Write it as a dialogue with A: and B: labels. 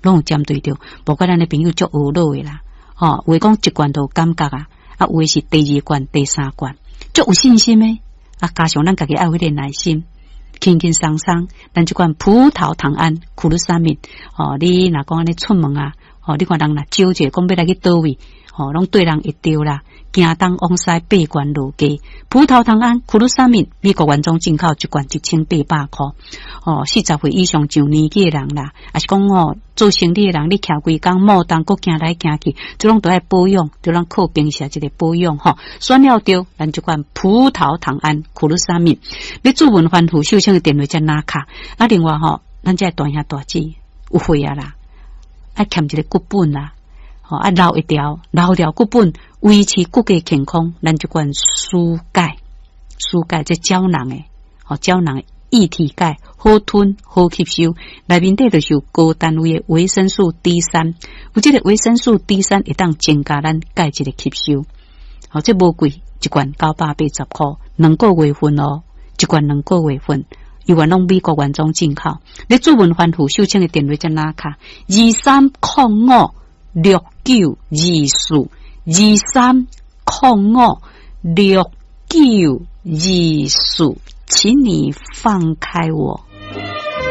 A: 攏有針對著。無怪咱的朋友足懊惱的啦，吼，有的講一罐就有感覺啊，啊，有的是第二罐、第三罐，足有信心的。啊，加上咱家己愛有彼個耐心，輕輕鬆鬆，咱這款葡萄糖胺、苦魯沙米，吼，你若講按呢出門啊，吼，你看人若招者講欲來去佗位，吼，攏對人會著啦。行東往西八關落街，葡萄糖胺、苦魯沙米，美國原裝進口一罐1800箍，吼，40歲以上上年紀的人啦，抑是講吼做生理的人，你徛規工莫當閣行來行去，這攏都愛保養，這攏靠平時一個保養吼。選了著，咱這款葡萄糖胺、苦魯沙米，欲諮問翻覆秀清的電話才拿卡。啊，另外吼，咱這大兄大姊有血壓啦，愛欠一個骨本啦。吼，啊，留一條，留條骨本，維持骨骼健康。咱這款舒鈣，舒鈣這膠囊的，吼，膠囊液體鈣，好吞好吸收。內面底就是有高單位的維生素 D 三，有這個維生素 D 三會當增加咱鈣質的吸收。吼，這無貴，一罐980箍，兩個月份哦，一罐兩個月份。猶原攏美國原裝進口。你諮問翻覆秀清的電話才拿卡，23056924，23056924，請你放開我。